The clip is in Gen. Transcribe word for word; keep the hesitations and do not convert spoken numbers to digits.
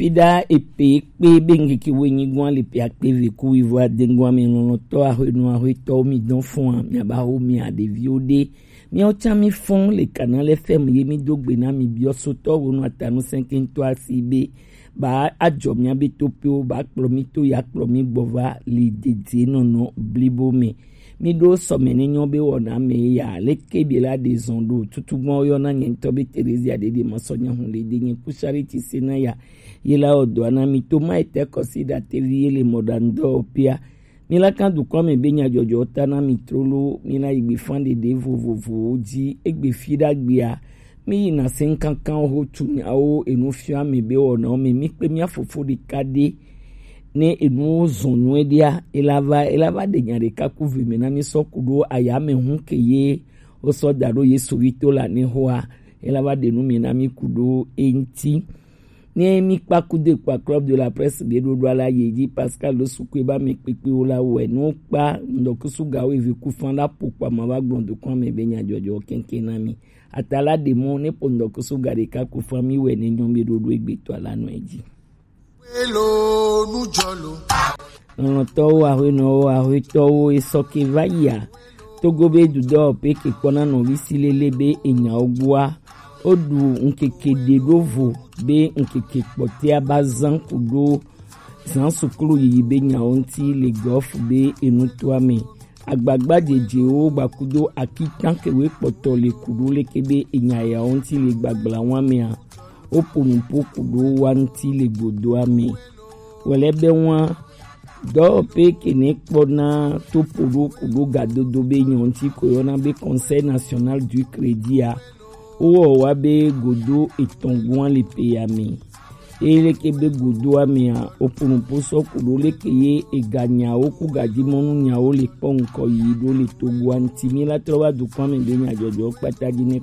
Pida epe kpe be ŋkeke woenyi gɔn le pe akpe ve ku wivo adengɔn ame lɔlɔtɔ ahwenu ahwetɔ mi dɔn fɔn a mi aba ho mi adeviwo de. Miawo can mi fɔn le kana le fɛm ye mi do gbe na mi biɔ sotɔ wonu atanu sɛnkɛntɔ asi be ba ajɔ mia be to pe wo ba kplɔ mi to ya kplɔ mi gbɔ va li dede nɔnɔ blibo me. Mi ɖo sɔmɛ ne nyɔ be wɔna me ya leke bi la de zɔn ɖo tutu gbɔn yɔ na nye ŋutɔ be Terezia ɖeɖe ma sɔ nya hun le de nye ku Charity se na ya ye la wɔ dɔ na mi to ma etɛ kɔsi ɖa tevi ye le mɔ ɖa ŋdɔ pia. Mi la kan dukɔ me be nya jɔjɔ ta na mi trolo mi la yi gbe fan ɖeɖe vovovowo dzi egbe fi ɖa gbea. Mi yi na se ŋkankan ho tu nyawo enu fia mi be wɔna mi mi kpe mia fofo ɖeka ɖe. Ne enuwo zɔn nyuie ɖia, elava elava ɖe nya ɖeka ku ve mi na mi sɔ ku ɖo ayame hu ke ye wosɔ da ɖo Yesu vi to la ne hoa, elava ɖe nu mi na mi ku ɖo eŋti. Ne mi kpa ku de kpa club de la presse be ɖo ɖo ala ye dzi Pascal ɖo sukue ba mi kpekpewo la wɛ nu kpa ŋdɔkusu gawo eve ku fan la po kpa ma va gblɔ dukɔ me be nya jɔjɔ kɛnkɛn na mi. Ata la ɖe mɔ ne po ŋdɔkusu ga ɖeka ku fan mi wɛ ne nyɔ mi ɖo ɖo egbe to ala nɔ edzi. Lɔlɔtɔwo, aƒenɔwo, aƒetɔwo, esɔ ke va yia. Togo be dudɔ pe ke kpɔna nɔvi si lele be enyawo gbɔa. Woɖu ŋkeke ɖe ɖo vo be ŋkeke kpɔtɛa ba zan ku ɖo zan suklu yiyi be nyawo ŋti le gɔf be enutoa me. Agbagba jejewo gbakudo akitan kewe kpɔtɔ le kuɖo leke be enya yawo ŋti le gbagbla wa mea. Wopo nupo kuɖo wa ŋti le godoa me. Wòle be wa dɔwɔƒe ke ne kpɔna topoɖo kuɖo gadodo be nyɔ ŋti ko yɔna be Conseil National du Crédit a. Wowɔ wa be godo etɔn gua le pe ya me. Eye leke be godoa mea, wopo nupo sɔ kuɖo leke ye eganyawo ku gadimɔnu nyawo le kpɔ ŋkɔ yi ɖo le togoa ŋti. Mi la trɔ va dukɔa me be nyajɔjɔ kpata dzi ne